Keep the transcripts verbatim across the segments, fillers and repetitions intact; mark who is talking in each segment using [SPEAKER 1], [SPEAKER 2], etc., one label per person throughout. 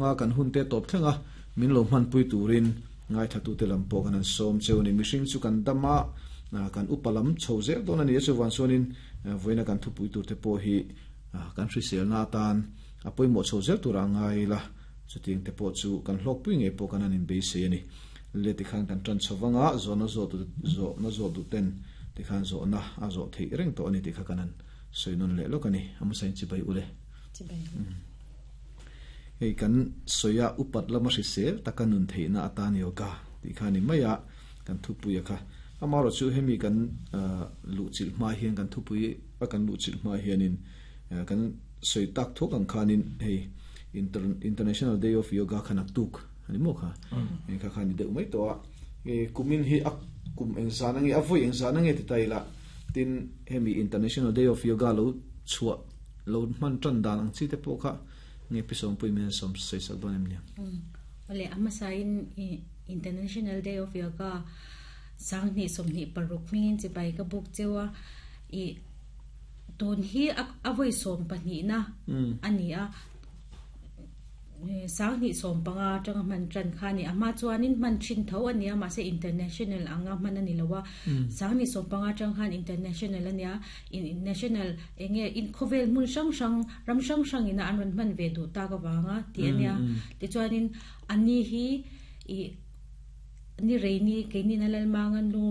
[SPEAKER 1] anga kan hun te top thlenga min lo hman pui turin ngai thatu te lam pawh kan an som cheu ni mihring chu kan dama kan upalam chho zel don ani chu wan chuanin voina kan thu pui tur te pawh hi kan hrisel na tan a pawimawh chho zel tur a ngai la chuting te pawh chu kan hlawk pui nge pawh kan an in beisei ani le ti khan kan tan chhawanga zona zo tu zo na zo du ten ti khan zo na a zo thei reng to ani ti kha kanan soinon le lo kani am sain chi bai ule
[SPEAKER 2] chi bai
[SPEAKER 1] hei kan soya upat lama hrisel takanun theina atan yoga ti khani maya kan thupui kha amaro chu hemi kan lu chil ma hian kan thupui a kan lu chil ma hianin kan soi tak thok ang khanin hei International Day of Yoga khanak tuk ani mo kha en kha khani deuh mai to a e kumin hi ak kum eng zanange avoi eng zanange ti taila tin hemi International Day of Yoga lo chua lo man tran dan ang chi te po kha nge pisom pui men som sei sak don em nia
[SPEAKER 2] ole ama sain International Day of Yoga sang ni som ni paruk mingin chi bai ka buk chewa i ton hi avoi som pahnih na ani a sang ni som panga tang man tran khani ama chuanin man chin tho ania ma se international anga man ani lowa sang ni som panga tang khan international ania in national enge in khovel mun sang sang ram sang sang ina an ran man ve du ta ka wanga ti ania ti chuanin ani hi i ni reini ke ni nalal mangan lu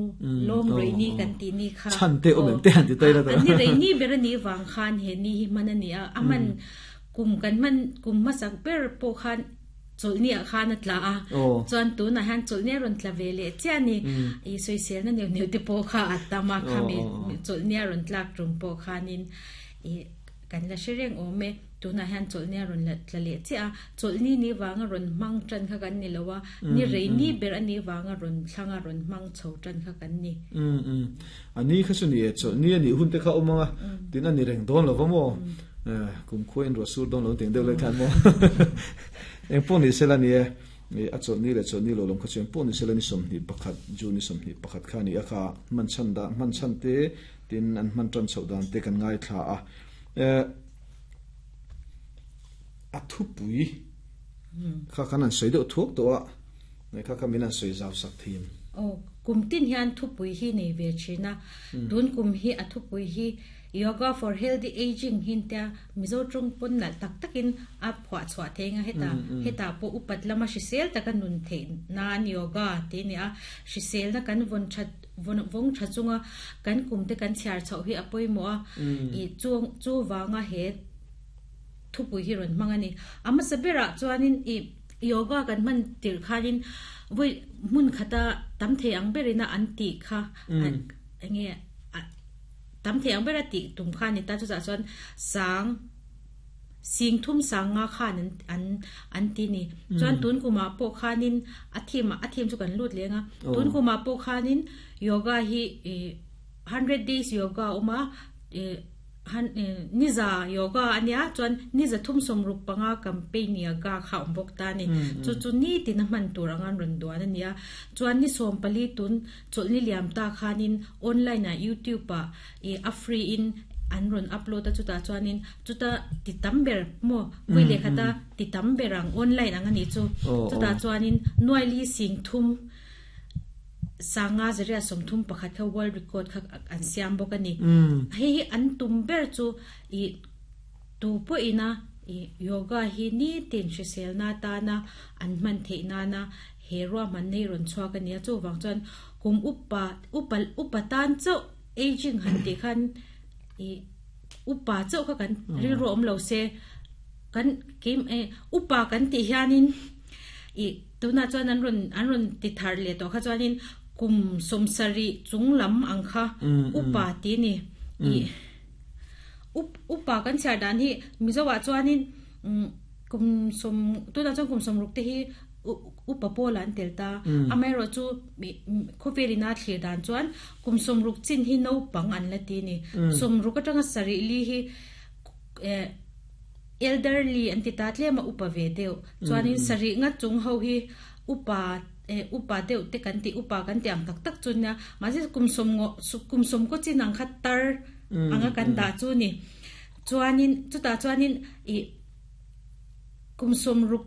[SPEAKER 2] lom reini kan ti ni kha
[SPEAKER 1] chan te omem te han ti tai la ta
[SPEAKER 2] ani reini ber ni wang khan he ni hi man ani aman kum kan man kum masak ber po khan chulni a khan atla a chuan tu na han chulni ron tla ve le chani i soisel na neu neu te po kha atama khami chulni ron tlak tum po khanin i kan la shereng ome tu na han chulni ron la tla le cha chulni ni wanga ron mang tran kha kan ni lowa ni reini ber ani wanga ron thlanga ron mang chho tran kha kan ni
[SPEAKER 1] um um ani kha chu ni chulni ani hun te kha omanga tin ani reng don lo mo kum khuin ro sur don lo ting deuh le khan mo eng pon ni sela ni a chol ni le chol ni lo lom kha chen pon ni sela ni som ni pakhat ju ni som ni pakhat kha ni a kha man chan da man chan te tin an man tran chho dan te kan ngai thla a a thu pui kha kan an sei deuh thuk to a nei kha kha min an sei zaw sak thim
[SPEAKER 2] o kum tin hian thu pui hi nei ve china tun kum hi a thu pui hi yoga for healthy aging hinta mizo trung pon na tak takin a phwa chwa thenga heta heta po upat lama hrisel taka nun the nan yoga te ni a hrisel na kan von that von vong thachunga kan kumte kan chhiar chho hi apoi mo a i chu chu wanga he thupui hi ron mangani ama sabera chuanin i yoga kan man tir khanin voi mun khata tam the ang berina an ti kha ange tam the ang bera ti tum khan ni ta chu cha chuan sang sing thum sang nga khan an an ti ni chuan tun kuma po khanin a thim a thim chu kan lut lenga tun kuma po khanin yoga hi hundred days yoga uma han niza yoga ania chuan niza thum som ruk panga campaign yoga kha ombok ta ni chu chu ni tin man tur angan ron duan ania chuan ni som pali tun chulni liam ta khanin online a youtube a e a free in an ron upload ta chuta chuanin chuta ti tamber mo wele khata ti tamberang online angani chu chuta chuanin noili sing thum sanga zeria somthum pakhat kha world record kha an siam bok ani hei an tum ber chu i tu po ina i yoga hi ni tin hrisel na ta na an man the na na he ro man nei ron chhuak ani chu wang chuan kum upa upal upatan chau aging han ti khan i upa chau kha kan ril ro om lo se kan kim e upa kan ti hianin i tuna chuan an ron an ron ti thar le to kha chuanin kum somsari chunglam ang kha upa ti ni i up upa kan char dan hi mizowa chuanin kum som tuna chuan kum som ruk te hi upa polan telta amero chu khovelina thlir dan chuan kum som ruk chin hi no pang an la ti ni som ruk atanga sari li hi elderly an ti ta tle ma upa ve deuh chuanin sari nga chung ho hi upa e upa deuh te kan ti upa kan ti ang tak tak chun na ma je kum som ngo kum som ko chin ang khat tar anga kan da chu ni chuanin chuta chuanin i kum som ruk